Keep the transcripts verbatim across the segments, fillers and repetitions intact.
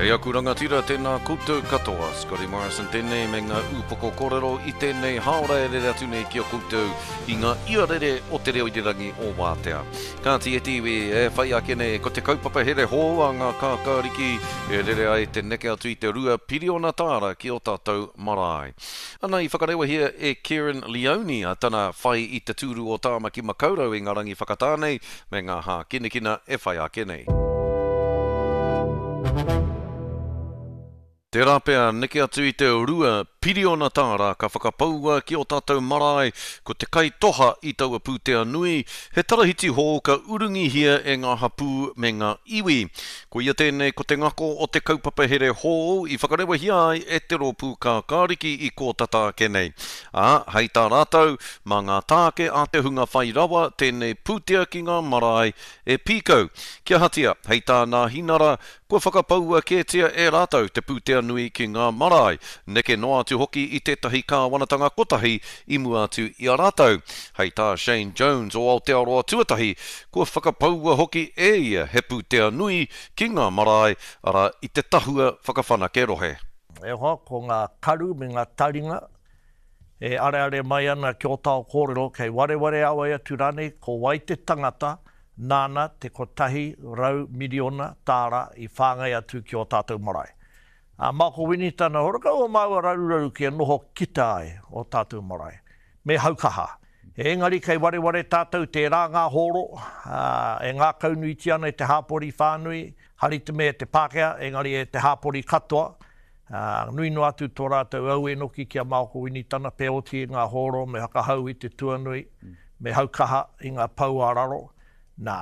E aku rangatira, tēnā koutou katoa. Scotty Morrison tēnei me ngā ūpoko kōrero i tēnei hāora e rere atu nei ki a koutou i ngā iarere o te reo irirangi o Wātea. Kāti e te iwi e whai ake nei ko te kaupapa here hou a ngā kākāriki e rere ai te neke atu i te rua piriona tāra ki o tātou marae. Ana i whakarewahia e Kerrin Leoni a tana whai i te tūru o Tāmaki Makaurau i ngā rangi whakatā nei me ngā hākinakina e whai ake nei. Tērā pea neke atu i te rua piriona tāra ka whakapaua ki o tātou marae, ko te kai toha i taua pūtea nui, he tarahiti hou ka urungihia e ngā hapū me ngā iwi. Ko ia tēnei ko te ngako o te kaupapa here hou i whakarewahia ai e te rōpū kākāriki i kōtata ake nei. Ā, hei tā rātou, mā ngā tāke a te hunga whai rawa tēnei pūtea ki ngā marae e pīkau. Kia ahatia, hei tā Nāhinara, kua whakapaua kētia e rātou te pūtea nui ki ngā marae, neke noa atu hoki i tētahi kāwanatanga kotahi i mua atu i a rātou. Hei tā Shane Jones o Aotearoa Tuatahi, kua whakapaua hoki e ia he pūtea nui ki ngā marae, arā i te tahua whakawhanake rohe. E hoa, ko ngā karu me ngā taringa e areare mai ana ki ō tāo kōrero, kei wareware a wai atu rānei, ko wai te tangata nāna te kotahi rau miriona tāra i whāngai atu ki ō tātou marae. A Mako Winitana, horakau o māua raruraru kia noho kita ai o tātou marae. Me haukaha. Engari kei wareware tātou tērā ngā hōro, ā, e ngākaunuitia ana e te hāpori whānui, hari te mea e te Pākehā, engari e te hāpori katoa, ā, nui noa atu tō rātou aue noki ki a Mako Winitana, pē oti i ngā hōro me whakahau i te tuanui, me haukaha i ngā pou ā raro. Nā,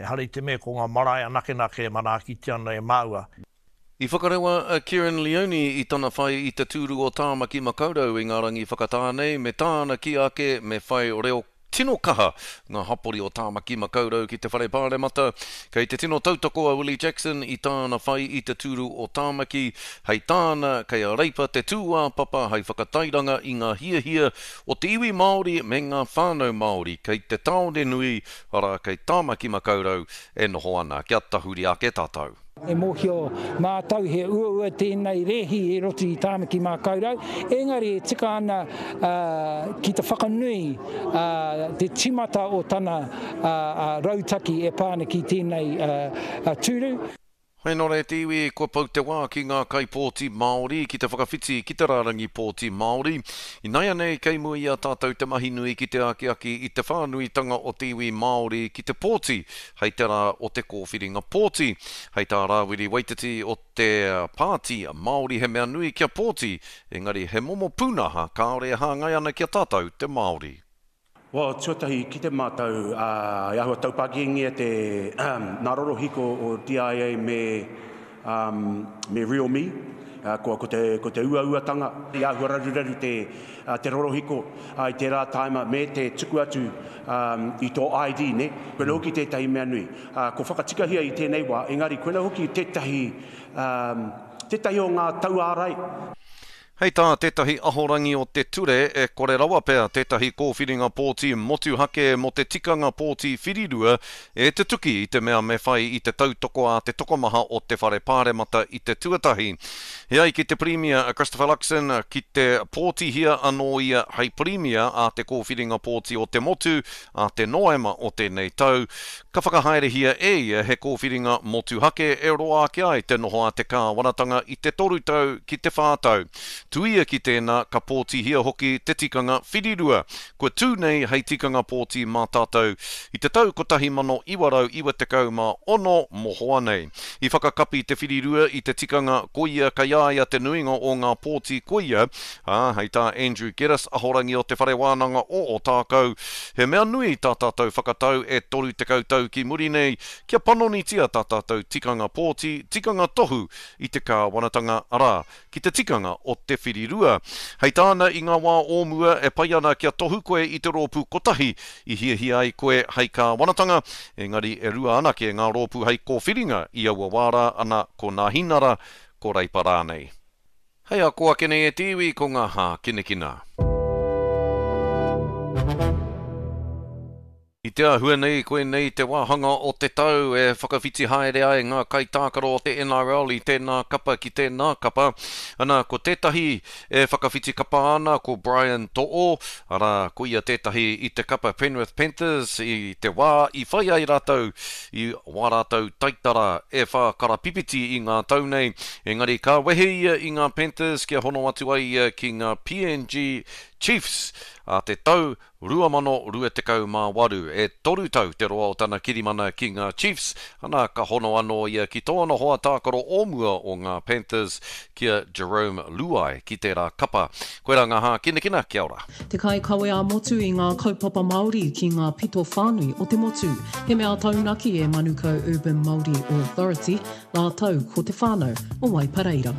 ehara i te mea ko ngā marae anakenake e manaakitia ana e māua. I whakarewa a Kerrin Leoni i tana whai i te tūru o Tāmaki Makaurau i ngā rangi whakatā nei, me tāna kī ake me whai reo tino kaha ngā hapori o Tāmaki Makaurau ki te Whare Pāremata. Kei te tino tautoko a Willie Jackson i tāna whai i te tūru o Tāmaki, hei tāna kei a Reipa te tūāpapa hei whakatairanga i ngā hiahia o te iwi Māori me ngā whānau Māori kei te tāone nui, arā kei Tāmaki Makaurau e noho ana. Kia tahuri ake tātou. E mōhio mātou he uaua tēnei rēhi e roto i Tāmaki Makaurau, engari e tika ana ki te whakanui te timata o tana rautaki e pā ana ki tēnei tūru. Hei nō reira te iwi, kua pau te wā ki ngā kaipōti Māori ki te whakawhiti ki te rārangi pōti Māori. Ināianei kei mua i a tātou te mahi nui ki te akiaki i te whānuitanga o te iwi Māori ki te pōti hei te rā o te kōwhiringa pōti. Hei tā Rāwiri Waititi o te Pāti Māori he mea nui kia pōti, engari he momo pūnaha kāore e hāngai ana ki a tātou te Māori. Well, tuatahi ki te mātau, ā, e āhua taupākingia te, nā rorohiko o D I A me, um, me Realme, ā, ko, ko te, ko te uauatanga, i āhua raruraru te, ā, te rorohiko, ā, i tērā tāima me te tuku atu, um, i tō I D, ne? Koina hoki tētahi mea nui. Ā, ko whakatikahia i tēnei wā, engari koina hoki tētahi, um, tētahi o ngā tauārai. Hei tā tētahi ahorangi o te ture e kore rawa pea tētahi kōwhiringa pōti motuhake mō te tikanga pōti whirirua e te tuki i te mea me whai i te tautoko a te tokomaha o te whare pāremata i te tuatahi. He ai ki te Pirimia a Christopher Luxon ki te pōtihia anō ia hei Pirimia a te kōwhiringa pōti o te motu a te Noema o tēnei tau, ka whakahaerehia e ia he kōwhiringa motuhake e roa ake ai te noho a te kāwanatanga i te toru tau ki te whā tau. Tuia ki tēnā, ka pōtihia hoki te tikanga whirirua. Kua tū nei hei tikanga pōti mā tātou i te tau kotahi mano iwa rau iwa tekau mā ono mohoa nei. I whakakapi te whirirua i te tikanga koia kei a ia te nuinga o ngā pōti koia, ā, hei tā Andrew Geddis ahorangi o te Whare Wānanga o Ōtākou, he mea nui tā tātou whakatau e toru tekau tau ki muri nei kia panonitia tā tātou tikanga pōti, tikanga tohu i te kāwanatanga, arā, ki te tikanga o te whirirua. Hei tāna i ngā wā o mua e pai ana kia tohu koe i te rōpū kotahi i hiahia ai koe hei kāwanatanga, engari e rua anake ngā rōpū hei kōwhiringa i aua wā rā ana ko Nāhinara, ko Reipa rānei. Hei ako ake nei e te iwi ko ngā hākinakina. I I te āhua nei, koinei te wāhanga o te tau e whakawhiti haere ai ngā kaitākaro o te N R L i tēnā kapa ki tēnā kapa. Ana, ko tētahi e whakawhiti kapa ana ko Brian To'o, arā, ko ia tētahi i te kapa Penrith Panthers i te wā i whai ai rātou i wā rātou taitara e whā karapipiti i ngā tau nei. Engari ka wehe ia i ngā Panthers kia hono atu ai ia ki ngā P N G Chiefs a te tau rua mano rua tekau mā waru. E toru tau te roa o tana kirimana ki ngā Chiefs, ana ka hono anō ia ki tōna hoa tākaro o mua o ngā Panthers ki a Jarome Luai ki tērā kapa. Koirā ngā hākinakina, kia ora. Te kai kawe a motu i ngā kaupapa Māori ki ngā pito whānui o te motu. He mea taunaki e Manukau Urban Māori Authority, rātou ko te whānau o Waipareira.